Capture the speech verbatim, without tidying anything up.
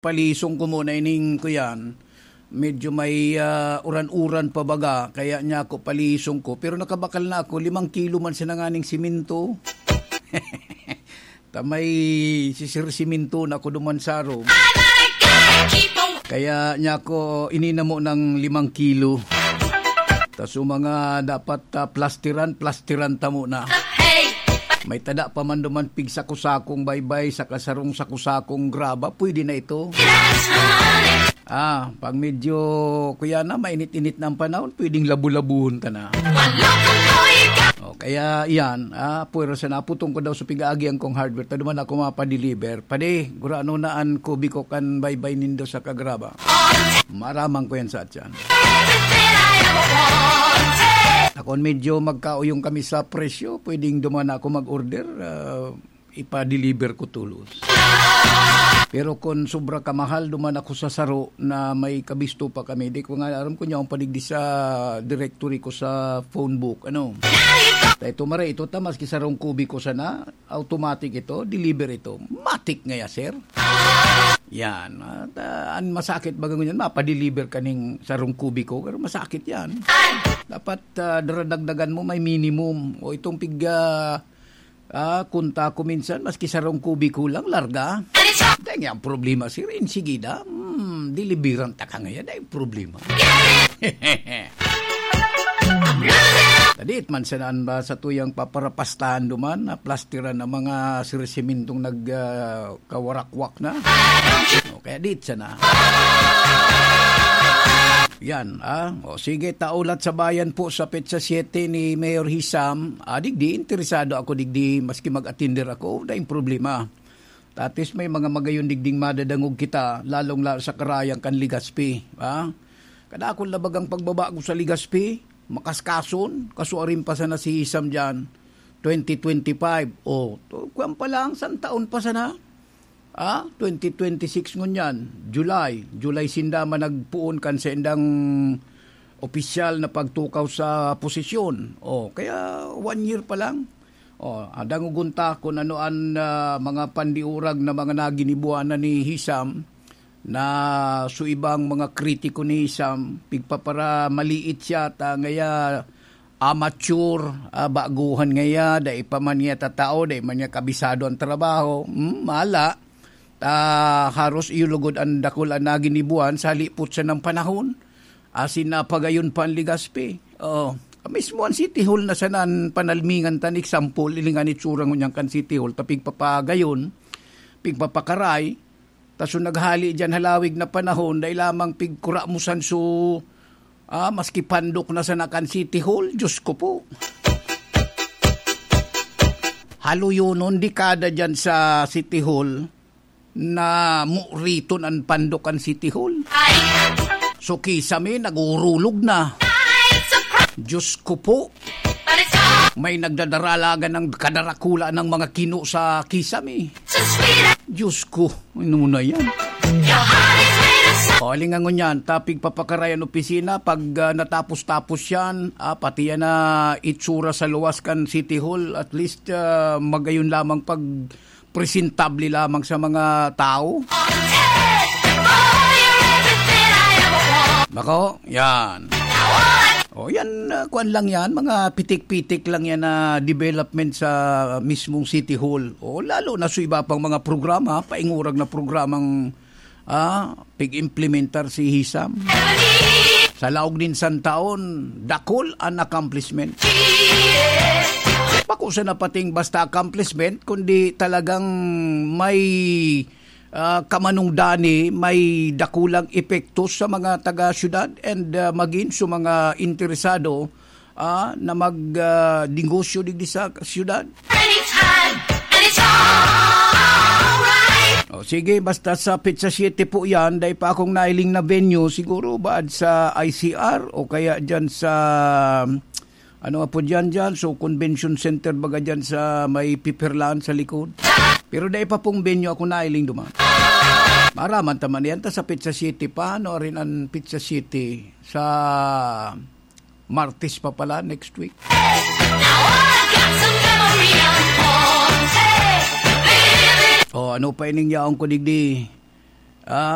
Palisong ko muna ining kuyan. Medyo may, ah, uran-uran pa baga, kaya niya ako palisong ko. Pero nakabakal na ako, limang kilo man siya nanganing siminto. Ta may sisir siminto na ako duman sa room. Kaya niya ako ininamo ng limang kilo. Tas yung mga dapat, ah, plastiran, plastiran ta muna. May tada pa man duman pig sako-sakong baybay, saka sarong sako-sakong graba, pwede na ito. Ah, pag medyo, kuya na, mainit-init na ang panahon, pwedeng labu-labuhon ta na. O, kaya iyan, ah, pwera sa naputong ko daw sa pig-aagian kong hardware, ta duman ako mapadeliver. Padi, gurano na an kubi ko kan baybay nindo sa kagraba. Maramang ko yan sa atyan. Akon medyo magkauyong kami sa presyo, pwedeng duman ako mag-order, ah, ipa-deliver ko tolos. Pero kung sobra ka mahal, duman ako sa saro na may kabisto pa kami. Di ko nga aram kung yaon pa digdi sa directory ko sa phone book. Ano? Dahil ito mare, ito ta, maski sarong kubi ko sana, automatic ito, deliver ito. Matik ngaya, sir. Yan. At, ah, ang masakit baga ngunyan, mapadeliver ka ning sarong kubi ko, pero masakit yan. Dapat, ah, daradagdagan mo, may minimum. O itong pig, ah, ah, kunta ko minsan, maski sarong kubi ko lang, larga. Dahil nga ang problema, sir, insigida, hmm, deliveran ta ka ngayon, ay problema. Tadit man siya naan ba sa tuyang paparapastahan duman, na plastiran ang mga sirisimintong nag, ah, kawarakwak na. O, kaya dit siya na. Yan, ah. O, sige, taulat sa bayan po sa petsa siete ni Mayor Hisam. Ah, digdi, interesado ako digdi, maski mag-atinder ako, daing problema. Tatis may mga magayon digding madadangog kita, lalong lalo sa karayang kan Legazpi, ha? Kadakul na bagang pagbabago sa Legazpi, makaskason, kasuarin pa sana si Hisam dyan, twenty twenty-five. O, to, kuwan pa lang, san taon pa sana? Ah, twenty twenty-six ngunyan, July. July sinda man nagpoon kan saindang opisyal na pagtukaw sa posisyon. O, kaya one year pa lang. O, ah, dangogon ta kun ano an, ah, mga pandiurag na mga naginibuanan ni Hisam na su ibang mga kritiko ni Hisam, pigpaparamaliit siya ta ngaya amateur, ah, baguhan ngaya, dai pa man niya tatao, dai man niya kabisado ang trabaho. Hmm, mala. Ta haros iyo lugod an dakul an naginibuan sa halipot sanang panahon. Asin napagayon pa an Legazpi. Oo. Mismo an City Hall na sana an panalmingan tan example, ilingan itsura ngunyan kan City Hall, ta pigpapagayon, pigpapakaray, ta so naghali diyan halawig na panahon, dai lamang pigkuramusan so, ah, maski pandok na sana kan City Hall, Diyos ko po. Haluyonon, dekada diyan sa City Hall, na muriton an pandok kan City Hall. So, kisame, nagurulog na. Diyos ko po. May nagdadaralagan ng kadarakula ng mga kino sa kisame. Diyos ko, ano na yan? O, alingangon yan, tapig papakarayan opisina, pag, ah, natapos-tapos yan, ah, pati yan na itsura sa luwas kan City Hall, at least, ah, magayon lamang pag presentable lamang sa mga tao. Nako, yan. O, yan, ah, kuwan lang yan, mga pitik-pitik lang yan na development sa mismong City Hall. O, lalo na sa iba pang mga programa, paingurag na programang, ah, pig-implementar si Hisam. Sa laog nin san taon, dakul an accomplishment. Bako sana pating basta accomplishment, kundi talagang may, ah, kamanongdani, may dakulang epekto sa mga taga-syudad and, ah, magin sa mga interesado, ah, na mag, ah, negosyo digdi sa syudad. And it's hot, and it's alright. O, sige, basta sa petsa siete po yan, dai pa akong nailing na venue, siguro baad sa I C R o kaya dyan sa, ano nga po dyan, dyan? So, convention center baga dyan sa may pipirlahan sa likod. Pero dai pa pong venue ako nailing duman. Maraman ta man yan, ta sa petsa siete pa, ano rin ang petsa siete sa Martes pa pala, next week. Now I got some memory of Ponce. O, ano pa ining yaon ko digdi? Ah,